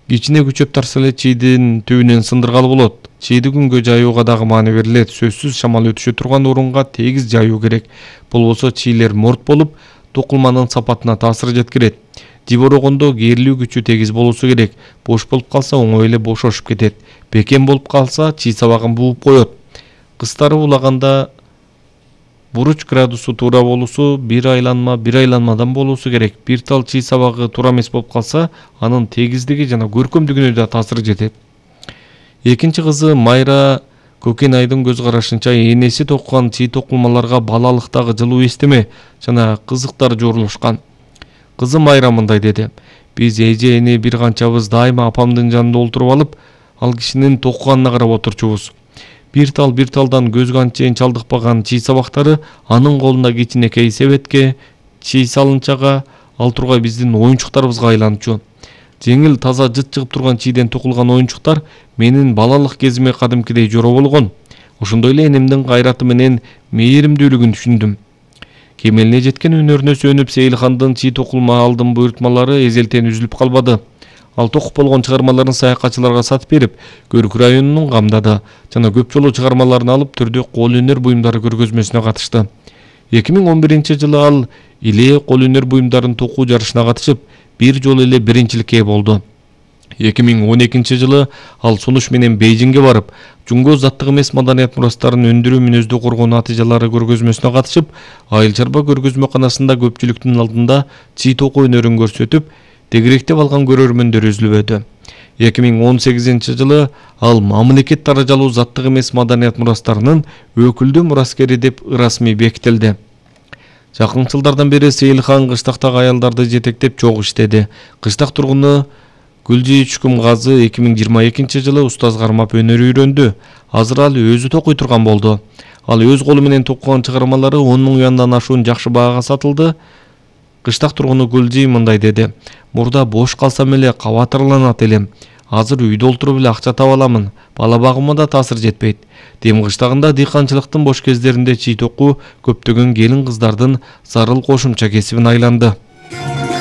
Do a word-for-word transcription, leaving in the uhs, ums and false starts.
Кичине күчөп тарса эле чийдин түбүнөн сындыргалы болот. Чийди күнгө жайууга дагы маани берилет. Сөзсүз шамал өтүшө турган орунга тегиз жайуу керек. Болбосо чийлер морт болуп, токулманын сапатына таасир жеткирет. Жиборогондо кээрлүү күчү тегиз болуусу керек. Бош болуп калса оңой эле бошошуп кетет. Бекем болуп калса чий сабагын бууп коет. Кыстары улаганда буруч градусу туура болуусу, бир айланма бир айланмадан болуусу керек. Бир тал чий сабагы туура эмес болуп калса, анын тегиздиги жана көркөмдүгүнө да таасир жетет. Экинчи кызы Майра Көкенайдын көз карашынча энеси токкан чий токулмаларга балалыктагы жылуу эстеме жана кызыктар жорулушкан. Кызы Майра мындай деди: "Биз эже эне бир канчабыз дайыма апамдын жанында олтуруп алып, ал кишинин токканына карап отурчубуз. Бир тал бир талдан көзгө анчейин чалдыкпаган чий сабактары анын колунда кичинекей себетке, чий салынчага, ал тургай биздин оюнчуктарыбызга айланчу. Жеңил таза жыт чыгып турган чийден токулган оюнчуктар менин балалык кезиме кадимкидей жоро болгон. Ошондой эле энемдин кайраты менен мээримдүүлүгүн түшүндүм." Кемелине жеткен өнөрүнө сүйөнүп Сейилхандын чий токулма алдын буйртмалары эзелтен үзүлүп калбады. Ал токуп болгон чыгармаларын саякатчыларга сатып берип, Көрк районунун камдады жана көп жолу чыгармаларын алып түрдүү кол өнөр буюмдары көргөзмөсүнө катышты. эки миң он биринчи жылы ал Илээ кол өнөр буюмдарын токуу жарышына катышып, бир жолу эле биринчиликке ээ болду. эки миң он экинчи жылы ал сунуш менен Бейжиңге барып, жунго заттык эмес маданият мурастарын өндүрүү мүнөздүү коргоо натыйжалары көргөзмөсүнө катышып, Айыл чарба көргөзмөканасында көпчүлүктүн алдында чий токуу өнөрүн көрсөтүп, тегеректеп алган көрөрмөндөр үзүлбөдү. эки миң он сегизинчи жылы ал мамлекет даражалуу заттык эмес маданият мурастарынын өкүлдүү мураскери деп ырасмий бекитилди. Жакын жылдардан бери Сейилхан кыштактагы аялдарды жетектеп чогуу иштеди. Кыштак тургуну Гүлжи Чүкүмгазы эки миң жыйырма экинчи жылы устаз кармап өнөр үйрөндү. Азыр ал өзү токуй турган болду. Ал өз колу менен токкогон чыгармалары он миң юандан ашуун жакшы баага сатылды. Кыштак тургуну Гүлжи мындай деди: "Мурда бош калсам эле кабатырланат элем. Азыр үйдө олтуруп эле акча таба аламын. Бала багыма да таасир жетпейт. Дем кыштагында дыйканчылыктын бош кездеринде чий токуу көптөгөн келин кыздардын зарыл кошумча кесибине айланды."